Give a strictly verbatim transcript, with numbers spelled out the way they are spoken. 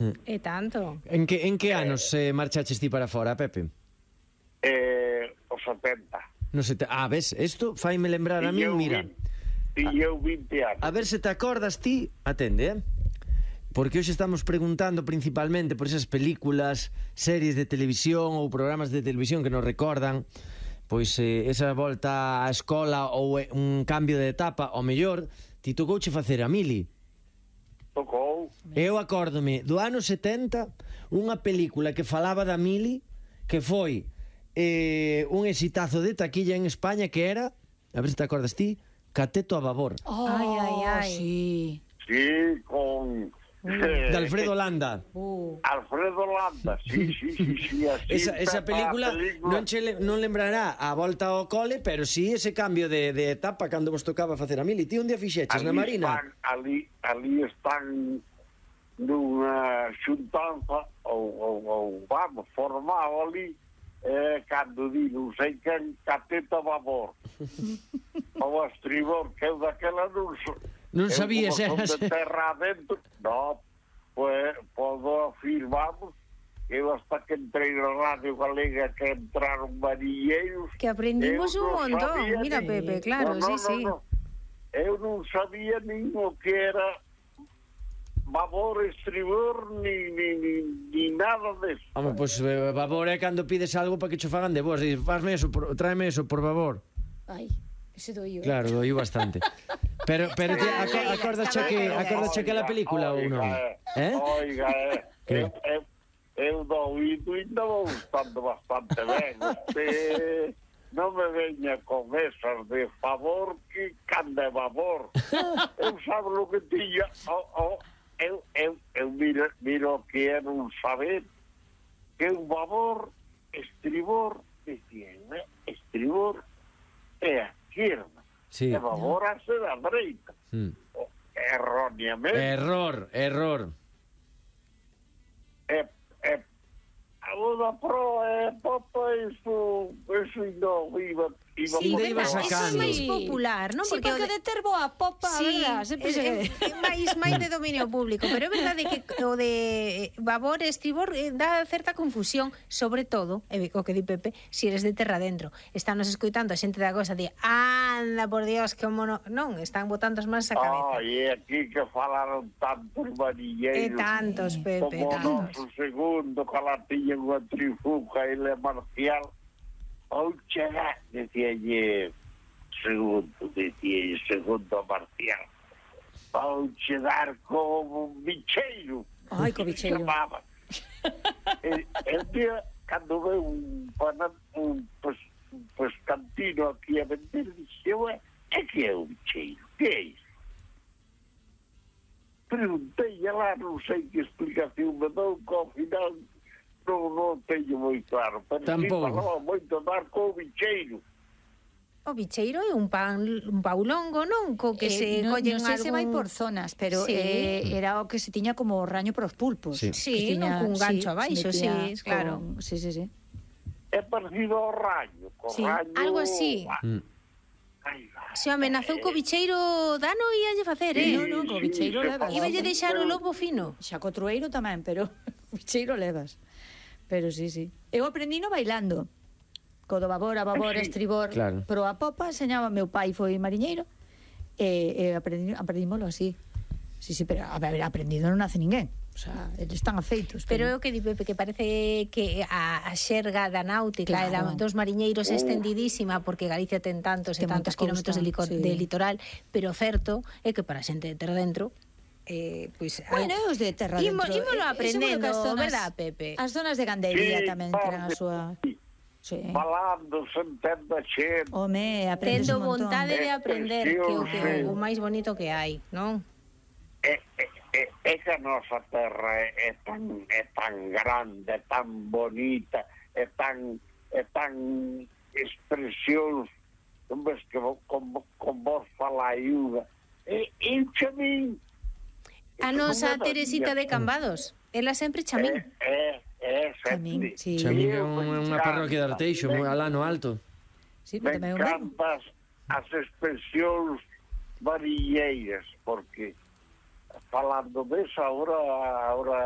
E tanto. En que, en que anos eh, marchaches ti para fora, Pepe? Eh, os setenta. No sei, ah, ves, isto faime lembrar a mí, mira. E eu vinte anos. A ver se te acordas ti, atende, eh? Porque hoxe estamos preguntando principalmente por esas películas, series de televisión ou programas de televisión que nos recordan pois eh, esa volta á escola ou eh, un cambio de etapa, ao mellor ti tocouche facer a mili. Tocou. Eu acórdome do ano setenta unha película que falaba da mili que foi eh, un exitazo de taquilla en España que era, a ver se te acordas ti, Cateto a babor. Oh, Ai, ai, ai. Sí. Sí, con... De Alfredo Landa. Uh. Alfredo Landa, sí, sí, sí, sí, así Esa, esa película, película non, che, non lembrará a volta ao cole, pero sí ese cambio de, de etapa cando vos tocaba facer a mili. Ti un día fixeches na Marina? Están, ali, ali están nunha xuntanza ou, ou, ou vamos, formado ali eh, cando di non sei quen Cateto a babor ou a estribor, que eu daquela non so, Non sabías, eu como eras... son de terra adentro, no, pues podo afirmamos que eu hasta que entrei na Radio Galega que entraron marilleiros Que aprendimos eu un non montón. sabía Mira, ni- Pepe, claro, no, no, sí, no, sí. no. Eu non sabía nin o que era babor, estribor, ni, ni, ni, ni nada deso. Home, pois pues, eh, babor é cando pides algo para que cho fagan de vos. Dices, fasme eso, por, tráeme eso, por favor. Ai, ese doío. Claro, doiu bastante. Pero, pero te, aco, acordas che que, acordas che que la película ou non? Eh? Oiga, eh, Que? eu, eu, eu do oído ainda vou estando bastante ben. Usted non me veña con esas de favor que cande babor. Eu sabe lo que tiña. Oh, oh, eu, eu, eu miro, miro que era un saber que un babor, estribor, decía, eh, estribor é a izquierda. Sí. E babor a ser a dereita. Mm. Erróneamente. Error, error. É, é, a Buda Pro é popa, isso, isso ainda iba, iba Sí, Onde verdad, ibas eso é sacando? máis popular, non? Sí, porque, o de ter boa popa, Sí, verdad, sempre se... é, é máis, máis de dominio público, pero é verdade que o de babor e estribor eh, dá certa confusión, sobre todo, e o que di Pepe, si eres de terra dentro. Están nos escoitando a xente da cosa de anda, por Dios, que mono... Non, están botando as mans a cabeza. Ah, e aquí que falaron tantos E manilleiros tantos, Pepe, como o tantos. noso segundo, que la tiña unha trifuca e le marcial. Ou chegar, decíalle segundo, decíalle segundo marcial. Ou chegar como un bicheiro. Ai, co bicheiro. Chamaba. e, e un día, cando veo un, panan, un pues, pues, cantino aquí a vender, dixe, ué, é que é un bicheiro? Que é iso? Preguntei lá, non sei que explicación me dou, que ao final non, non teño moi claro, pero Tampouco. sí falaba moito dar co bicheiro. O bicheiro é un pan un paulongo, non? Co que Eh, se non, collen non sei se vai algún... por zonas, pero Sí. eh, era o que se tiña como raño para os pulpos. Sí. Sí, Que non, cun gancho se abaixo, sí, metía claro. con- Sí, sí, sí. É parecido ao raño, co Sí, raño... algo así. Ah, Mm. ai, vai. Se amenazou co bicheiro dano íalle facer, Sí, eh? No, no, co bicheiro se levas. falaba Iballe deixar o moito. lobo fino. Xa co trueiro tamén, pero bicheiro levas. Pero sí, sí. Eu aprendino bailando. Co do babor, a babor, Sí, estribor. claro. Pero a popa enseñaba meu pai, foi mariñeiro, e, e aprendi, aprendímolo así. Sí, sí, pero a ver, aprendido non nace ninguén. O sea, eles están afeitos. Pero é o que di Pepe, que parece que a, a xerga da náutica e da, Claro. dos mariñeiros é estendidísima, porque Galicia ten tantos e Ten tantos moita kilómetros de, lico, costa, sí. de litoral, pero o certo é que para a xente de terra dentro, eh, pois, Bueno, os de terra Imo- dentro. ímolo Eh, aprendendo, seguro que as zonas- verdad, Pepe? As zonas de Gandería Sí, tamén parte, terán a súa... sí. Sí. Falando, se entende a xente. Home, aprendes tendo un montón. vontade de aprender, que é o, que, Sí. o máis bonito que hai, non? É, é, é, é que a nosa terra é, é, tan, é tan grande, é tan bonita, é tan, é tan expresións, non ves que vo- con, con vos fala ayuda. E, e chamín. A nosa Teresita de Cambados, ela sempre chamín. É, é, é, Chamín, sempre. sí. Chamín é Eu me unha, unha encanta, parroquia de Arteixo, me- moi alá no alto. Sí, Me pero tamén é un verbo. encantas as expresións varilleiras, porque falando desa, ahora, ahora